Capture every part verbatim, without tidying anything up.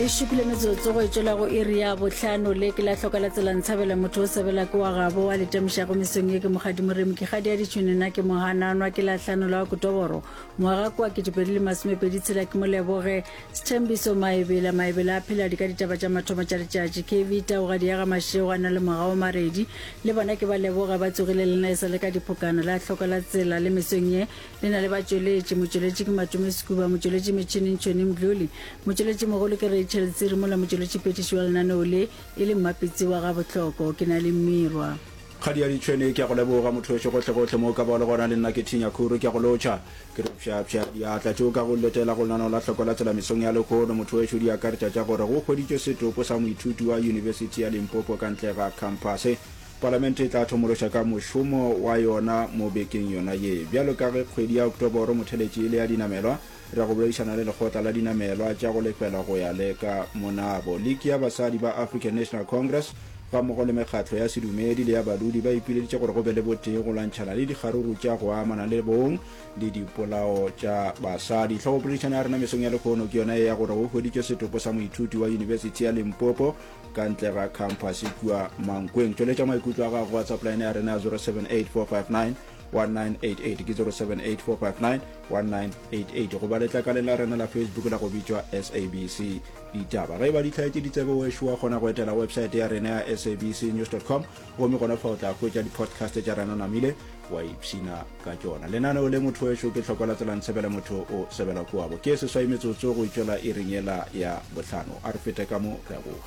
E šupile metsotso go e tšwela go iri ya bohlano le ke la hloka la tsela ntshabela motho o sebela ke wa gabo wa letamišago mesong ye ke mokgadi moremi ke kgadi ya ditšhune nna ke mohananwa ke la hlano la Okotoboro ngwaga kwa ketepedi le masomepedi tshela ke moleboge Sethembiso Maebela Maebela a phela di ka ditaba tša mathomo tša letšatši K V Taugadi ya ga Mašego a na le Mogao Maredi le bona ke ba leboga ba tsogile le nna e sa le ka diphokana la hloka la tsela le mesong ye le na le batšweletši motšweletši ke Matome Sekuba motšweletši metšhineng Tšhoni Mdluli motšweletši mogolo ke Rachel Tsiri mola motšweletši phetiši wa lenaneo le e le Mmapitsi wa Gabohloko ke na le Mmirwa. Kgadi ya ditšhwene ke a go leboga motho wešo gohlegohle mo o ka bago le gona le nna ke thinya khuru ke a go lotšha ke re pšhapšha diatla tšeo ka go letela go lenaneo la hloko la tsela mesong ya lehono motho wešo di akaretša tša gore go hweditšwe setopo sa moithuti wa Yunibesithi ya Limpopo ka ntle ga khamphase Palamente e tla thomološa ka mošomo wa yona mo bekeng yona ye. Bjalo ka ge kgwedi ya Oktoboro motheletši e le ya dinamelwa, re ya go boledišana le Lekgotla la Dinamelwa tša go Lefelwa go ya le ka monabo. Liki ya Basadi ba African National Congress gammogo le mekgatlo ya sedumedi le ya badudi ba ipileditše gore go be le botee go lwantšhana le dikgaruru tša go amana le bong le dipolao tša basadi. Hlogopoledišano ya rena mesong ya lehono ke yona ye ya gore go hweditšwe setopo sa moithuti wa Yunibesithi ya Limpopo ka ntle ga khamphase kua Mankweng. Tšweletša maikutlo a gago WhatsApp line ya rena ya zero seven eight four five nine one nine eight eight ke zero seven eight four five nine one nine eight eight goba letlakaleng la rena la Facebook la go bitšwa S A B C Ditaba. Ge e ba di hlaetše ditsebe wešo wa kgona go etela website ya rena ya S A B C news dot com gomme gona fa o tla hwetša di-podcast tša rena namile wa ipshina ka tšona. Lenaneo le motho wešo ke hloko la tsela ntshebele motho o sebela kuabo. Ke seswai metsotso go itšwela iring yela ya bohlano. A re fete ka mo re a boa.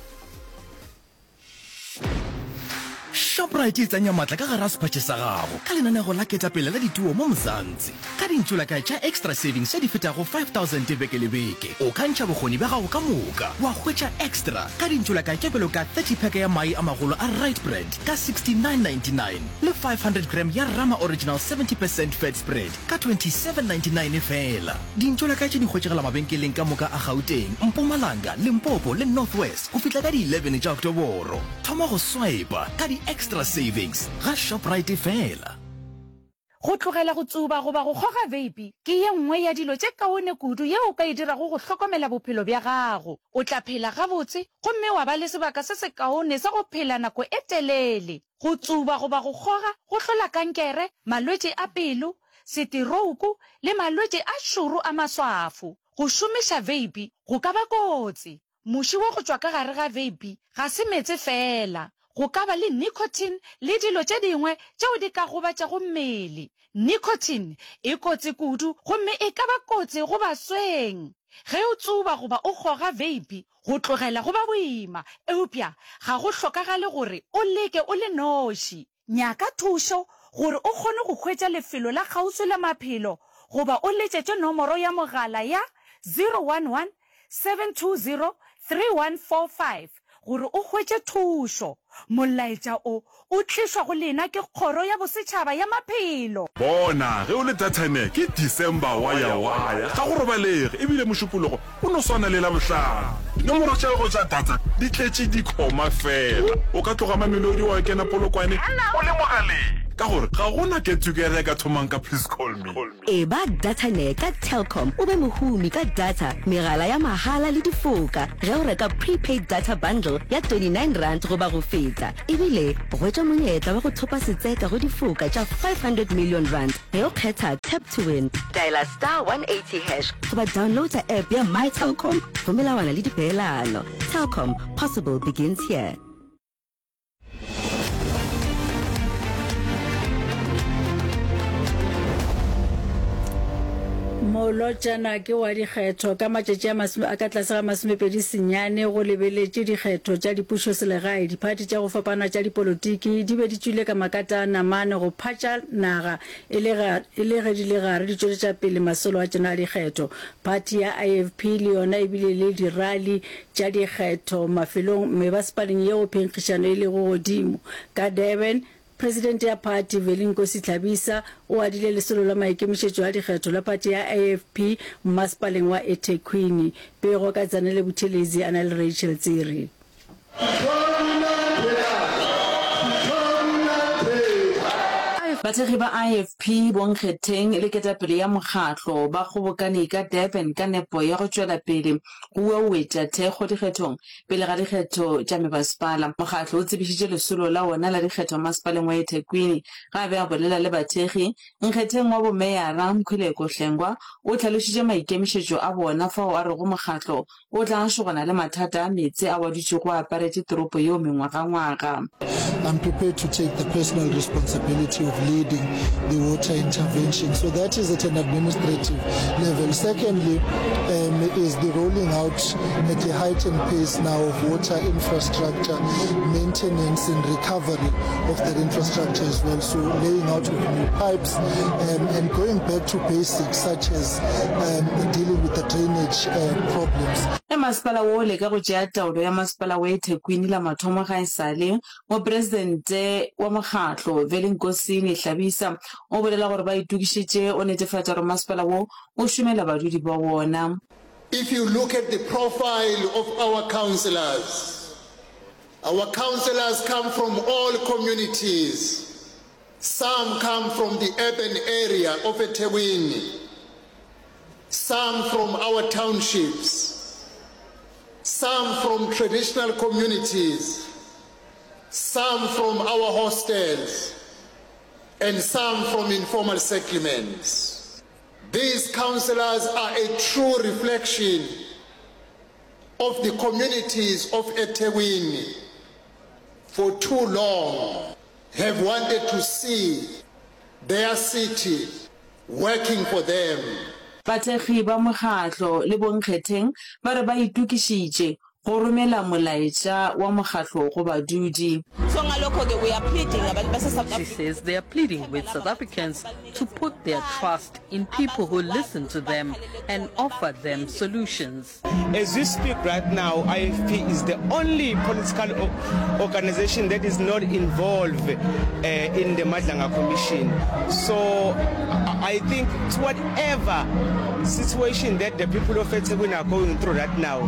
Shoprite e tsenya matla ka gare ga sephatše sa gago ka lenanego la ketapele la dituo mo Mzansi. Ka dintšolakae tša Extra Savings tše di fetago five thousand beke le beke, o ka ntšha bokgoni bja gago ka moka wa hwetša extra ka dintšolakae tše bjalo ka thirty pack ya mai a magolo a Rite Brand ka sixty nine ninety nine le five hundred gram ya Rama Original seventy percent fat spread ka twenty seven ninety nine feela. Dintšolakae tše di hwetšagala mabenkeleng ka moka a Gauteng, Mpumalanga, Limpopo le North West go fihla ka di eleven tša Oktoboro. Thoma go swiper ka di Extra Savings ga Shoprite feela. Go tlogela go tsuba goba go kgoga veipi ke ye nngwe ya dilo tše kaone kudu yeo o ka e dirago go hlokomela bophelo bja gago. O tla phela gabotse gomme wa ba le sebaka se sekaone sa go phela nako e telele. Go tsuba goba go kgoga go hlola kankere, malwetši a pelo, seterouku le malwetši a šoro a maswafo. Go šomiša veipi go ka ba kotsi. Muši wa go tšwa ka gare ga veipi ga se meetse feela. Go ka ba le nicotine le dilo tše dingwe tšeo di ka gobatšago mmele. Nicotine e kotsi kudu gomme e ka ba kotsi go basweng. Ge o tsuba goba o kgoga veipi, go tlogela go ba boima, eupša ga go hlokagale gore o leke o le noši. Nyaka thušo gore o kgone go hwetša lefelo la kgauswi la maphelo goba o letšetše nomoro ya mogala ya zero one one seven two zero three one four five gore o hwetše thušo. Molaetša o o tlišwa go lena ke Kgoro ya Bosetšhaba ya Maphelo. Bona, ge o le Dathane, ke December waya-waya, ga go robalege, e bile Mošupologo o no swana le Labohlano. Dinomoro tša gago tša data di tletše dikhoma feela. O ka tloga Mamelodi wa kena Polokwane o le mogaleng, ka gore ga go na get together e ka thomang ka please call me. Eba Dataner ka Telkom o be mohumi ka data, megala ya mahala le difoka ge o reka prepaid data bundle ya twenty nine rand goba go feta. Ebile hwetša monyetla wa go thopa setseka go difoka tša five hundred million rand ge o kgetha Tap to Win. Dialer star one eighty hash goba downloada app ya My Telkom go melawana le dipeelano. Telkom, possible begins here. Molotšana ke wa dikgetho ka matšatši a masome a ka tlase ga masomepedi senyane go lebeletše dikgetho tša dipušoselegae. Diphathi tša go fapana tša dipolotiki di be di tšwile ka makata a namane go phatša naga e le ga e le ge di le gare di tšweletša pele masolo a tšona a dikgetho. Phathi ya I F P le yona e bile le dirali tša dikgetho mafelong mebasepaleng yeo phenkgišano e lego godimo. Ka Durban, Presidente ya phathi, Veli Nkosi Hlabisa, o adile lesolo la maikemišetšo a dikgetho la phathi ya I F P mmasepaleng wa eThekwini. Pego ka Zanele Buthelezi a na le Rachel Tsiri. Bathekgi ba IFP, bonkgetheng le ketapele ya mokgatlo ba kgobokane ka Durban ka nepo ya go tšwela pele go uauetša thekgo dikgethong pele ga dikgetho tša mebasepala. Mokgatlo o tsebišitše lesolo la wona la dikgetho masepaleng wa eThekwini. Ge a be a bolela le bathekgi, nkgetheng wa bomeyara Mkhuleko Hlengwa o hlalošitše maikemišetšo a bona fao a rego mokgatlo o tla šogana le mathata a meetse ao a dutšego a aparetše toropo yeo mengwagangwaga. I'm prepared to take the personal responsibility of leading the water intervention. So that is at an administrative level. Secondly, um, is the rolling out at a heightened pace now of water infrastructure, maintenance and recovery of that infrastructure as well. So laying out of new pipes um, and going back to basics such as um, dealing with the drainage uh, problems. Ge masepala wo o leka go tšea taolo ya masepala wa eThekwini la mathomo ga e sa le, mopresidente wa mokgatlo, Velenkosini Hlabisa, o bolela gore ba itokišetše go netefatša gore masepala wo o šomela badudi ba wona. If you look at the profile of our councillors, our councillors come from all communities. Some come from the urban area of eThekwini, some from our townships, some from traditional communities, some from our hostels, and some from informal settlements. These councillors are a true reflection of the communities of eThekwini for too long have wanted to see their city working for them. Bathekgi ba mokgatlo le bonkgetheng ba re ba itokišitše go romela molaetša wa mokgatlo go badudi. So ngalokho-ke we are pleading abantu base-South She Africa says they are pleading with South Africans to put their trust in people who listen to them and offer them solutions. As we speak right now, I F P is the only political organization that is not involved, uh, in the Madlanga Commission. So I think to whatever situation that the people of eThekwini are going through right now,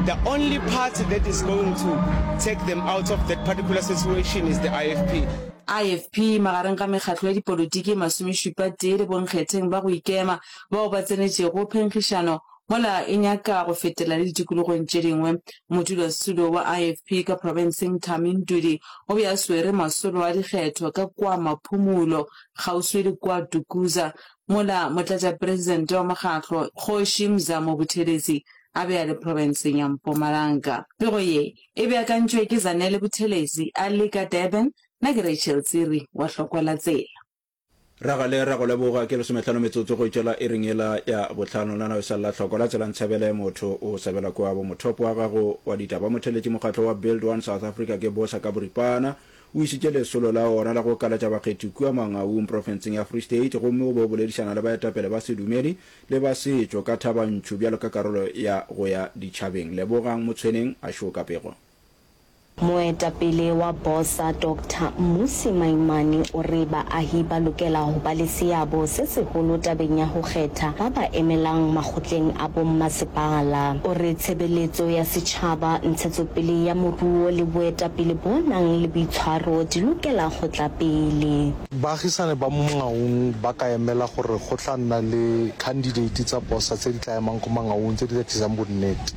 the only party that is going to take them out of that particular situation is the I F P. I F P magareng ga mekgatlo ya dipolotiki e masomešupa tee le bonkgetheng ba go ikema bao ba tsenetšego phenkgišano mola e nyaka go fetela le ditikologong tše dingwe. Modulasetulo wa I F P ka profenseng Thami Ntuli o be a swere masolo a dikgetho ka kua Maphumulo kgauswi le kua Dukuza, mola motlatšapresidente wa mokgatlo Kgoši Mzamo Buthelezi a be a le profenseng ya Mpumalanga. Pego ye e beakantšwe ke Zanele Buthelezi a le ka Durban. Nna ke Rachel Tsiri wa Hlokwa la Tsela. Ragale ra go leboga ke lesomehlano metsotso go itšwela iring yela ya bohlano. Nna o sa lla hloko la tsela ntshebele motho o sebela kwa bo mothopo wa gago wa ditaba. Motheletši mokgatlo wa Build One South Africa ke Bosa ka boripana o išitše lesolo la ona la go kalatša bakgethi kua Mangaung profenseng ya Free State gomme o be o boledišana le baetapele ba sedumedi le ba setšo ka Thaba-Nchu bjalo ka karolo ya go ya ditšhabeng. Lebogang Motshweneng a šoka pego. Moetapele wa Bosa Doctor Mmusi Maimane o re baahi ba lokela ho ba le seabo se seholo tabeng ya ho kgetha ba ba emelang makgotleng a bommasepala. O re tshebeletso ya setjhaba, ntshetsopele ya moruo le boetapele bo nang le boitshwaro di lokela ho tla pele. Baagisane ba mo Mangaung ba ka emela gore go tla nna le candidate tsa Bosa tse di tla emang ko Mangaung tse di tla tlisang bonnete.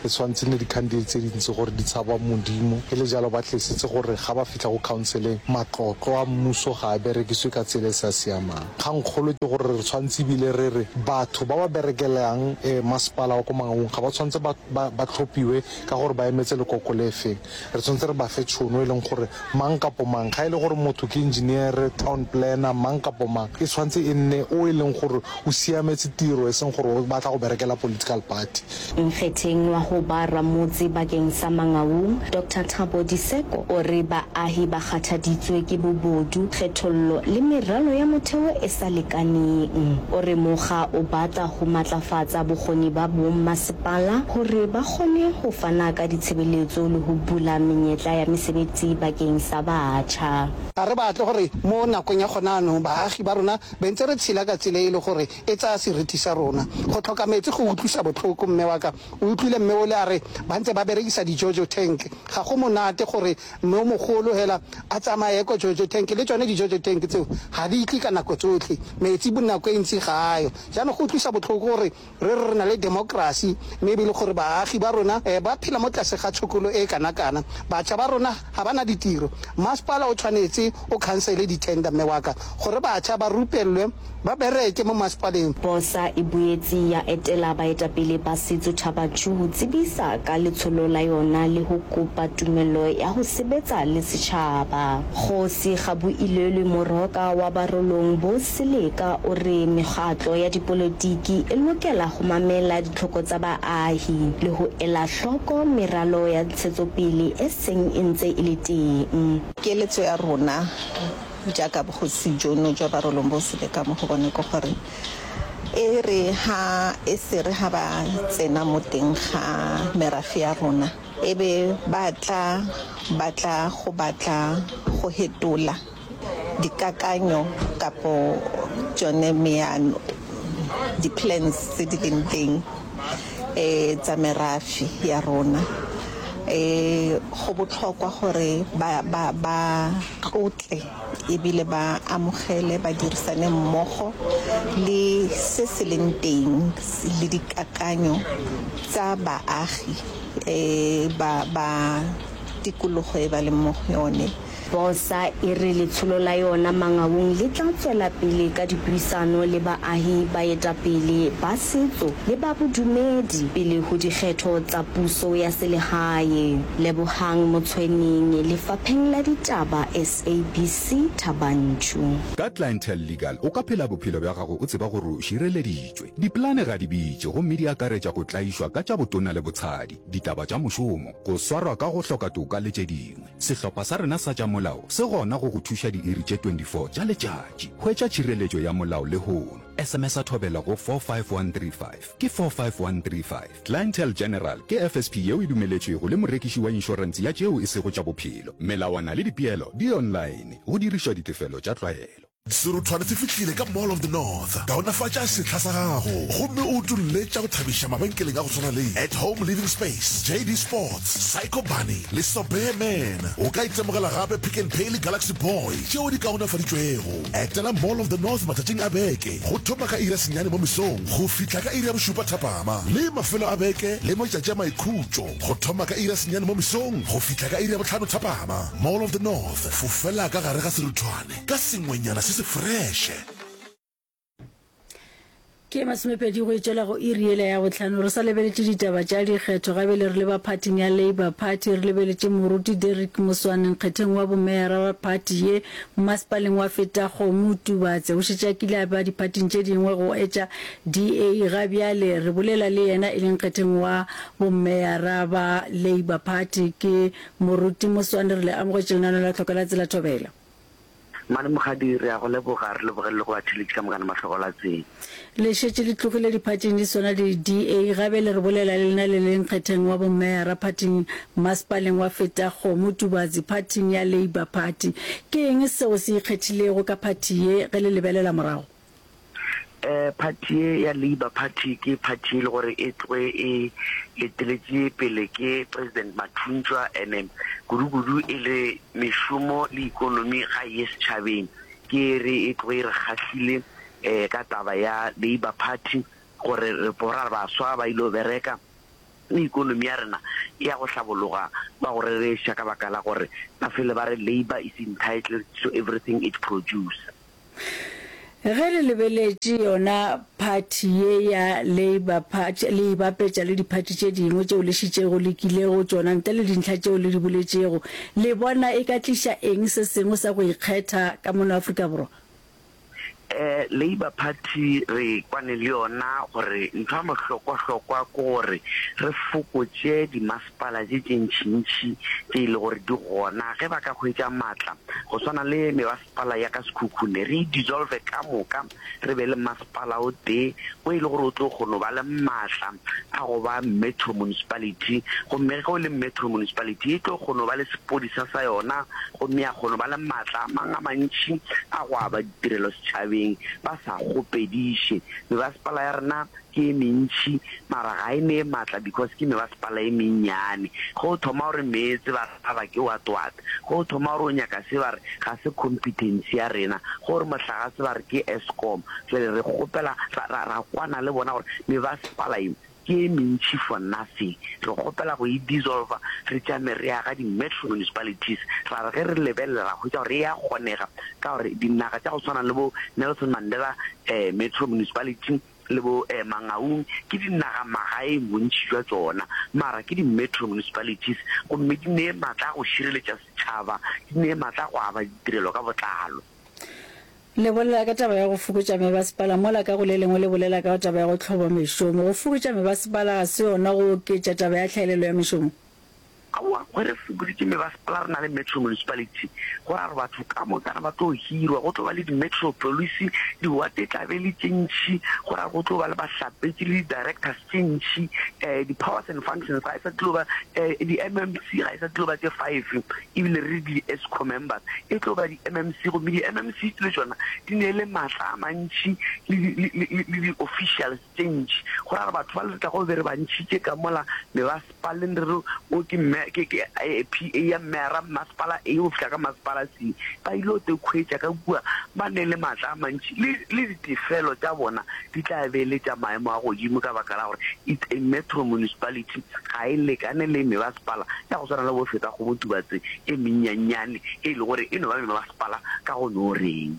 E tshwanetse nne di-candidate tse dintsi gore di tshaba Modimo, e le jalo ba tlesetse gore ga ba fitlha go counseleng matlotlo a mmuso ga a berekiswe ka tsela e sa siamang. Kgangkgolo ke gore re tshwanetse ebile re re batho ba ba berekelang, eh, masepala wa ko Mangaung ga ba tshwanetse ba, ba, ba tlhophiwe ka gore ba emetse lekoko le feng. Re tshwanetse re ba fe tšhono e leng gore mang kapo mang, ga e le gore motho ke engineer, town planner, mang kapo mang, e tshwanetse e nne o e leng gore o siametse tiro, e seng gore o batla go berekela political party. Nkgetheng wa ho ba ramotse bakeng sa Mangaung, Doctor Thabo Diseko o re baahi ba kgathaditswe ke bobodu, kgethollo le meralo ya motheo e sa lekaneng. O re mokga o batla ho matlafatsa bokgoni ba bommasepala hore ba kgone ho fana ka ditshebeletso le ho bula menyetla ya mesebetsi bakeng sa batjha. Ga re batle gore mo nakong ya gona jaanong baagi ba rona be ntse re tshela ka tsela e le gore e tsaya seriti sa rona. Go tlhoka metsi go utlwisa botlhoko, mme wa ka o utlwile mme ole a re ba ntse ba berekisa di-jojo tank. Ga go monate gore mme o mogolo hela a tsamaye ko jojo tank, le tsone di-jojo tank tseo ga di tle ka nako tsotlhe, metsi nako e ntsi ga ayo. Jaanong go utlwisa botlhoko gore re re re na le democracy mme e be e le gore baagi ba rona ba phela mo tlase ga tshokolo e kana-kana. Batjha ba rona ga ba na ditiro. Masepala o tshwanetse o khansele di-tender mme wa ka gore batjha ba rupellwe ba bereke mo masepaleng. Bosa e boetse ya etela baetapele ba setso Thaba Nchu ho tsebisa ka letsholo la yona le ho kopa tumello ya ho sebetsa le setjhaba. Kgosi Gaboilelwe Moroka wa Barolong bo Seleka o re mekgatlo ya dipolotiki e lokela ho mamela ditlhoko tsa baahi le ho ela hloko meralo ya ntshetsopele e seng e ntse e le teng. Keletso ya rona jaaka bogosi jono jwa Barolong bo Seleka mo go bone ke gore e re ha e se re ha ba tsena mo teng ga merafe ya rona e be ba tla batla go batla go hetola dikakanyo kapo tsone meano di-plans tse di leng teng um tsa merafe ya rona. Um go botlhokwa gore ba ba ba tlotle ebile ba amogele ba dirisane mmogo le se se leng teng le dikakanyo tsa baagi um ba ba tikologo e ba leng mo go yone. Bosa e re letsholo la yona Mangaung le tla tswela pele ka dipuisano le baahi, baetapele ba setso le ba bodumedi pele ho dikgetho tsa puso ya selehae. Lebohang Motshweneng, Lefapheng la Ditaba, S A B C, Thaba Nchu. Ka Clientele Legal o ka phela bophelo bja gago o tseba gore o šireleditšwe. Dipolane ga di bitše gomme di akaretša go tlaišwa ka tša botona le botshadi, ditaba tša mošomo, go swarwa ka go hloka toka le tše dingwe. Sehlopha sa rena sa tša molao se gona go go thuša diiri tše twenty-four tša letšatši. Hwetša tšhireletšo ya molao lehono. S M S a thobela go four five one three five. Ke four five one three five. Clientele General ke F S P yeo e dumeletšwego le morekiši wa inšorense ya tšeo e sego tša bophelo. Melawana le dipeelo di online. Go dirišwa ditefelo tša tlwaelo. Seruthwane se fihlile ka Mall of the North. Kaonafatša sehla sa gago gomme o utolle tša go thabiša mabenkeleng a go swana le At Home Living Space, J D Sports, Psycho Bunny le Sobear Man. O ka itemogela gape Pick n Pay le Galaxy Boy tšeo di kaonafaditšwego. Etela Mall of the North matšatšing a beke go thoma ka iri ya senyane mo mesong go fihla ka iri ya bošupa thapama, le mafelo a beke le matšatši a maikhutšo go thoma ka iri ya senyane mo mesong go fihla ka iri ya bohlano thapama. Mall of the North, fofela ka gare ga seruthwane ka sengwenyana se se fresh. Ke masomepedi go etšwela go iri yela ya bohlano. Re sa lebeletše ditaba tša dikgetho gabele re leba phathing ya Labour Party, re lebeletše moruti Derek Moswane nkgetheng wa bomeyara wa phathi ye masepaleng wa Fetakgomo Tubatse. O šetše a kile a ba diphathing tše dingwe go etša D A. Ga bjale re bolela le yena e leng nkgetheng wa bomeyara ba Labour Party ke moruti Moswane. Re le amogetše lenaneo la Tlhoko la Tsela Thobela. Mane Mokgadi, re a go leboga, re leboge le go batheeletši ka mokana mahlogo la tsela. Le šetše le tlogile diphathing di swana le D A. Gabe le re bolela le lena le leng kgetheng wa bomeyara phathing masepaleng wa Fetakgomo Tubatse phathing ya Labour Party. Ke eng seo se ikgethilego ka phathi ye ge le lebelela morago? Eh, phathi ye ya Labour Party ke phathi e le gore e tloge e eteletše pele ke President Mathuntšwa, ene kudu-kudu e le mešomo le ikonomi ga ye setšhabeng. Ke re e tloge e re kgahlile eh ka taba ya Labour Party gore re bora baswa ba ile bereka le ikonomi ya rena e ya go hlabologa ba go rereša ka baka la gore ba fele ba re Labour is entitled to everything it produce. Ge le lebeletše yona phathi ye ya Labour Party le e bapetša le diphathi tše dingwe tšeo le šitšego le kilego tšona ntle le dintlha tšeo le di boletšego, le bona e ka tliša eng se sengwe sa go ikgetha ka mono Afrika Borwa? Eh, Labour Party re kwane le yona gore ntho ya mohlokwa-hlokwa ke gore re fokotše dimasepala tše tše ntšintši tše e le gore di gona ge ba ka hwetša maatla go swana le mebasepala ya ka Sekhukhune, re e dissolve ka moka, re be le masepala o tee o e le gore o tlo kgona go ba le maatla a go ba metro municipality, gomme ge o le metro municipality e tlo kgona go ba le sepodisa sa yona, gomme ya kgona go ba le maatla a mang a mantši a go aba ditirelo setšhabeng. setšhabeng ba sa kgopediše. Mebasepala ya rena ke e mentši mara ga e nee maatla because ke mebasepala e mennyane. Ge o thoma o re meetse ba re aba ke what what, ge o thoma o re o nyaka se ba re ga se competency ya rena, ge o re mohlagase ba re ke Eskom. Jwale re kgopela ra, ra, ra kwana le bona gore mebasepala ye ke e mentši for nothing. Re kgopela go e dissolver re tšame re aga di-metro municipalities. Ra re ge re lebelela ra hwetša gore e a kgonega ka gore dinaga tša go swana le bo Nelson Mandela Metro Municipality le bo Mangaung ke dinaga magaeng bontši bja tšona, mara ke di-metro municipalities gomme di nee matla a go šireletša setšhaba, di nee matla a go aba ditirelo ka botlalo. Le bolela ka taba ya go fokotša mebasepala mola ka go le lengwe le bolela ka taba ya go hloba mešomo. Go fokotša mebasepala ga se yona go oketša taba ya tlhaelelo ya mešomo? Aowa, ge re fokoditše mebasepala re na le metro municipality, go ra gore batho ka mokana ba tlo hirwa, go tlo ba le di-metro police, diwate e tla be e le tše ntši, go ra gore go tlo ba le bahlapetši le di-directors tše ntši, um di-powers and functions ga e sa tlo ba, um di-M M C ga e sa tlo ba tše five, ebile re re di-Esco members, e tlo ba di-M M C, gomme di-M M C le tšona di ne le maatla a mantši le di, le, le, le di-officials tše ntši. Go ra gore batho bale re tlago be re ba ntšhitše ka mola mebasepaleng re re o ke mme, ke, ke P A ya mmeara mmasepala A go fihla ka masepala C, ba ile go te khwetša ka kua ba ne le maatla a mantši, le, le ditefelo tša bona di tla be e le tša maemo a godimo ka baka la gore it's a metro municipality, ga e lekane le mebasepala ya go swana le bo Fetakgomo Tubatse e mennyannyane e le gore e no ba mebasepala ka go no reng.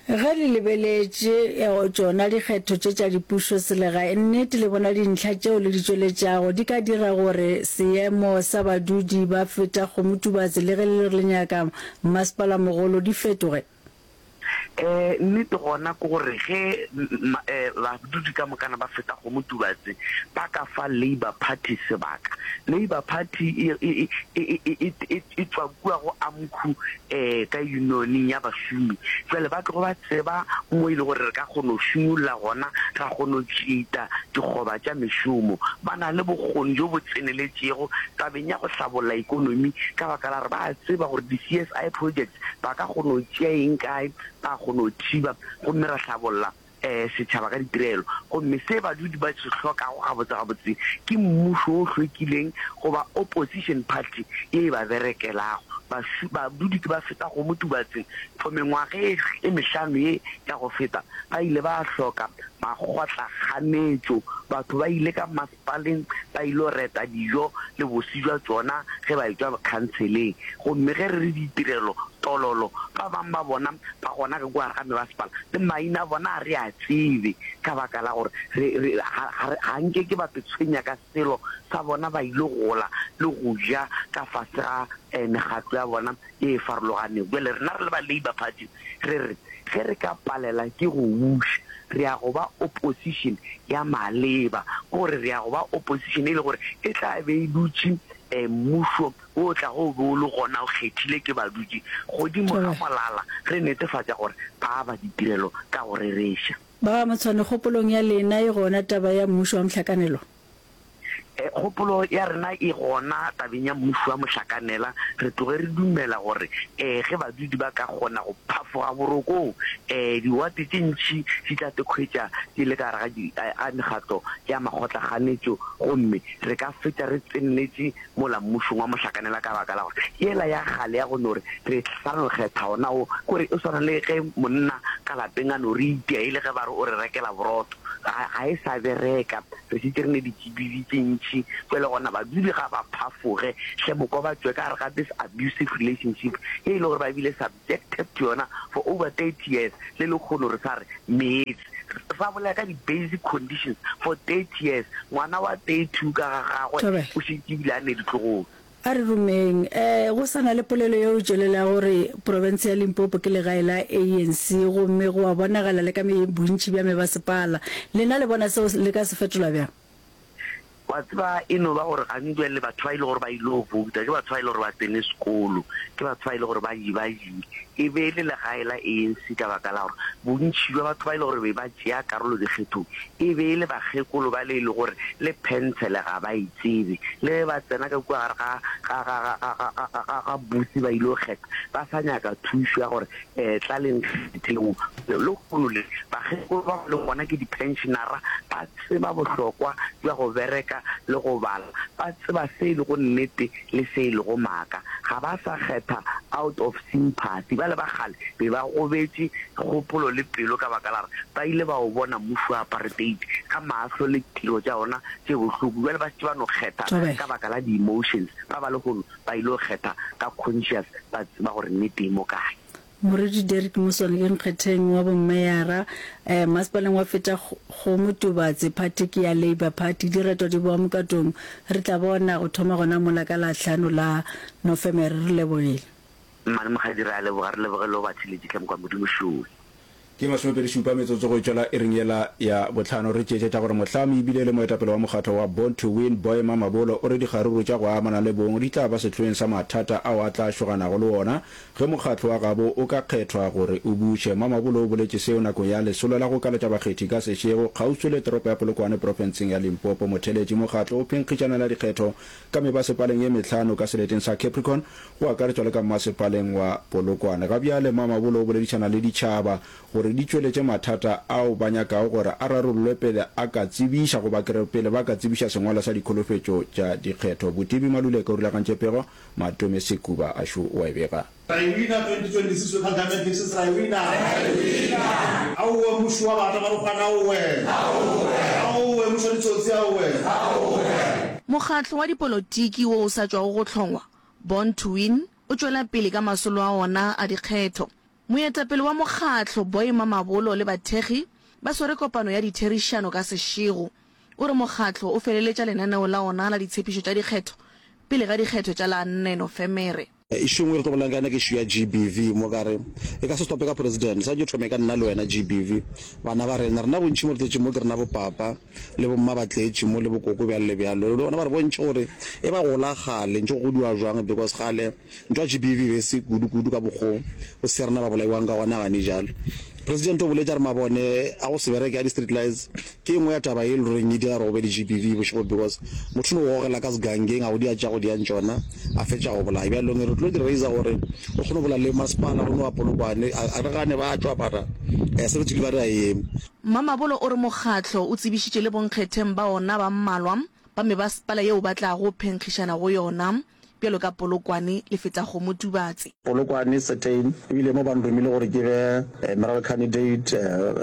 Ge le lebeletše tšona dikgetho tše tša dipušoselegae, nnete le bona dintlha tšeo le di tšweletšago di ka dira gore seemo sa badudi ba Fetakgomo-Tubatse le ge le re le nyaka mmasepalamogolo di fetoge? Ee, nnete gona ke gore ge badudi ka mokana ba Fetakgomo-Tubatse ba ka fa Labour Party sebaka, Labour Party e, e, e, e, e, e tšwa kua go AMCU ka unioneng ya bašomi. Bjale ba tlogo ba tseba mo e le gore re ka kgona go šunyolla gona, ra kgona go tšeita dikgoba tša mešomo. Ba na le bokgoni bjo bo tseneletšego tabeng ya go hlabolla ekonomi ka baka la gore ba a tseba gore di-C S I projects ba ka kgona go tšea eng kae, ba kgona go thiba gomme ra hlabolla setšhaba ka ditirelo. Gomme se badudi ba se hlokago gabotse-gabotse ke mmušo o hlwekileng goba opposition party ye e ba berekelago. Bašu, badudi ke ba fetago mo Tubatseng for mengwaga e, e mehlano ye ya go feta, ba ile ba hloka makgotlakganetšo. Batho ba ile ka masepaleng ba ilo reta dijo le bose bja tšona ge ba etšwa khanseleng. Gomme ge re re ditirelo, tololo, ba bang ba bona ba gona ka kua gare ga mebasepala, le maina a bona ga re a tsebe, ka baka la gore re, re, ga, ga re, ga nke ke ba te tshwenya ka selo sa bona, ba ile gola le go ja ka fase ga eh, mekgatlo ya bona ye e farologanego. Bjale rena re le ba Labour Party re re, ge re ka palela ke go buša, re ya go ba opposition ya maleba, ke gore re ya go ba opposition e le gore e tla be e dutše um mmušo wo o tlago o be o le gona o kgethile ke badudi godimo ga molala, re netefatša gore ba aba ditirelo ka go rereša. Ba ga Motshwane, kgopolong ya lena e gona taba ya mmušo wa mohlakanelwa? Kgopolo ya rena e gona tabeng ya mmušo wa mohlakanela. Re tloge re dumela gore ge badudi ba ka kgona go phafoga borokong, diwate tše ntši di tla te hwetša di le ka gare ga mekgatlo ya makgotlakganetšo gomme re ka fetša re tseneletše mola mmušong wa mohlakanela ka baka la gore yela ya kgale ya go no re re sa no kgetha ona wo, ke gore e swana le ge monna ka lapeng a no re itia e le ge ba re o re rekela borotho, ga, ga e sa bereka. Re šetše re ne ditšibidi tše ntši, bjale gona badudi ga ba phafoge hle mokwa ba tšwe ka gare ga this abusive relationship ye e le gore ba bile subjected to yona for over thirty years, le lekgono re sa re meetse. Re sa bolela ka di basic conditions for thirty years, ngwana wa thirty two ka ga gagwe Thobela. o šetše ebile a ne ditlogolo. A re rumeng. E, go sa na le polelo yeo e tšwelelago gore profense ya Limpopo ke legae la A N C gomme go a bonagala le ka bontši bja mebasepala. Lena le bona seo le ka se fetola bjang? Wa tseba, e no ba gore gantši bjale batho ba e le gore ba ile go bouta ke batho ba e le gore ba tsene sekolo, ke batho ba e le gore ba ba e be e le legae la A N C ka baka la gore bontši bja batho ba e le gore be ba tšea karolo dikgethong e be e le bakgekolo ba le e le gore le phentshele ga ba e tsebe. Le ge ba tsena ka kua gare ga, ga, ga, ga, ga, ga, ga, ga, ga booth ba ile go kgetha, ba sa nyaka thušo ya gore um tla le nkgetheng. Lehono le, bakgekolo ba ba lego gona ke di-pensionara, ba tseba bohlokwa bja go bereka le go bala, ba tseba se e lego nnete le se e lego maaka. Ga ba sa kgetha out of sympathy. Bale ba kgale be ba gobetše kgopolo le pelo ka baka la gore ba ile ba o bona mmušo wa apartheid ka mahlo le tiro tša ona tše bohloko. Bjale ba šetše ba no kgetha ka baka la di-emotions. Ba ba lehono ba ile go kgetha ka conscious, ba tseba gore nnete e mo kae. Moruti Derrick Moswane ke nkgetheng wa bommeyara masepaleng wa Fetakgomo Tubatse, phathi ke ya Labour Party. Direto di boa mokatong, re tla bona go thoma gona mola ka la hlano la Nofemere. Re lebogile. Mmane Mokgadi, re a leboga, re leboge le go ba theletše hle mokwa Modimo šowe. Ke masomepedi šupa metsotso go e tšwela iring yela ya bohlano. Re tšeetše tša gore mohlami ebile e le moetapele wa mokgatlo wa Born to Win, Boy Mamabolo, o re dikgaruru tša go amana le bong di tla ba sehloeng sa mathata ao a tla šoganago le ona ge mokgatlo wa gabo o ka kgethwa gore o buše. Mamabolo o boletše seo nakong ya lesolo la go kaletša bakgethi ka sešego kgauswi le toropo ya Polokwane profenseng ya Limpopo. Motheletši mokgatlo o phenkgišanela dikgetho ka mebasepaleng ye mehlano ka seleteng sa Capricorn go akaretšwa le ka mmasepaleng wa Polokwane. Ga bjale Mamabolo o boledišana le ditšhaba gore di tšweletše mathata ao ba nyakago gore a rarollwe pele a ka tsebiša goba ke re pele ba ka tsebiša sengwalwa sa dikholofetšo tša dikgetho. Botibi Maluleke o rulagantše pego, Matome Sekuba a šo o a e bega. Ra e wina twenty twenty six local government elections ra e wina. Aowe mmušo wa batho ba marokgwana aowe. Aowe mmušo wa ditsotsi aowe. Mokgatlo wa dipolotiki wo o sa tšwago go hlongwa, Born to Win, o tšwela pele ka masolo a ona a dikgetho. Moetapele wa mokgatlo, Boy Mamabolo le bathekgi ba swere kopano ya ditherišano ka sešego. O re mokgatlo o feleletša lenaneo la ona la ditshepišo tša dikgetho pele ga dikgetho tša la nne Nofemere. Issue engwe re tlo bolelang ka yona ke issue ya G B V mo ka re e ka se stope ka president, sa ke thome ka nna le wena G B V. Bana ba rena, rena bontši mo re tletše mo ke rena bo papa le bo mma ba tletše mo le bo koko bjalo le bjalo. Le bona ba re bontšhe gore e ba gola kgale ntše go godiwa jwang because kgale ntwa G B V e be e se kudu kudu ka mokgo go se rena ba bolaiwang ka gona gane jalo. President o boletše a re mabone a go se bereke a di street lights ke e nngwe ya taba ye e le goreng e dira gore go be le G B V bošego because motho o no go gogela ka segangeng a go dia tša go diang tšona a fetša go bolaya. Bjalong re tlo di raiser gore re kgone go bolela le masepala o no wa Polokwane a re gane ba tšwa mara se re tswile ba re a eme. Mamabolo o re mokgatlo o tsebišitše le bonkgetheng ba ona ba mmalwa ba mebasepala yeo ba tlago phenkgišana go yona bjalo ka Polokwane le Fetakgomo Tubatse. Polokwane certain ebile mo ba nromile gore ke be mayoral candidate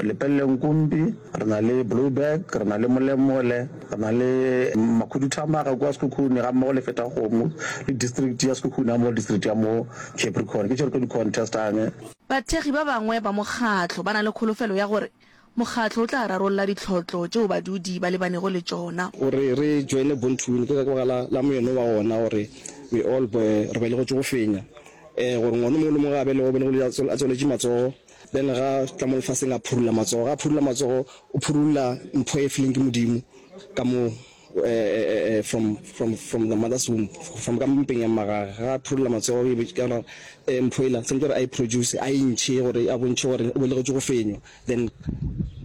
Lepelle Nkumpi, re na le Blouberg, re na le Molemole, re na le Makhuduthamaga kua Sekhukhune ga mmogo le Fetakgomo le district ya Sekhukhune ga mmogo le district ya mo Capricorn ke tše re tlo di contestang. Bathekgi ba bangwe ba mokgatlo ba na le kholofelo ya gore mokgatlo o tla rarolla ditlhotlo tšeo badudi ba lebanego le tšona. Gore re joine Born to Win ke ka baka la, la moeno wa gona gore we all re belegetšwe go fenya. Eh, gore ngwana o mongwe le mongwe ge a belegwa o belegwe a tswaletše matsogo, then ga tla mo lefaseng a phurulla matsogo. Ga a phurulla matsogo o phurulla mpho e fileng ke Modimo ka mo eh, from, from, from the mother's womb, from ka mpeng ya mmagage. Ga a phurulla matsogo e be ka gona mpho ela tshwanetse gore a e produce, a e ntšhe gore a bontšhe gore o belegetšwe go fenywa, then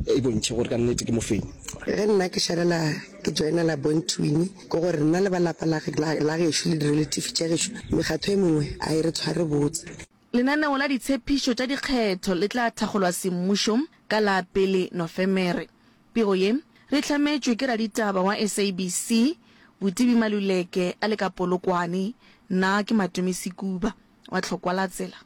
e bontšhe gore ka nnete ke mofenyi. Ge nna ke šalela ke joinela Born to Win, ke gore nna le ba lapa la, la, la gešo le di-relative tša gešo, mekgatho e mengwe a e re tshware botse. Lenaneo la ditshepišo tša dikgetho le tla thakgolwa semmušo ka la pele Nofemere. Pego ye re e hlametšwe ke raditaba wa S A B C, Botibi Maluleke a le ka Polokwane. Nna ke Matome Sekuba wa Tlhokwa la Tsela.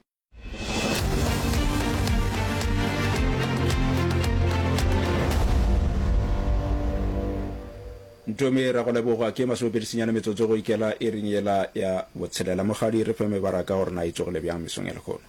Ntome ra go leboga ke masomepedi senyane metsotso go ikela iring yela ya botshelela. Mokgadi re fe mebaraka gore na e tsogile bjang mesong ya lehono.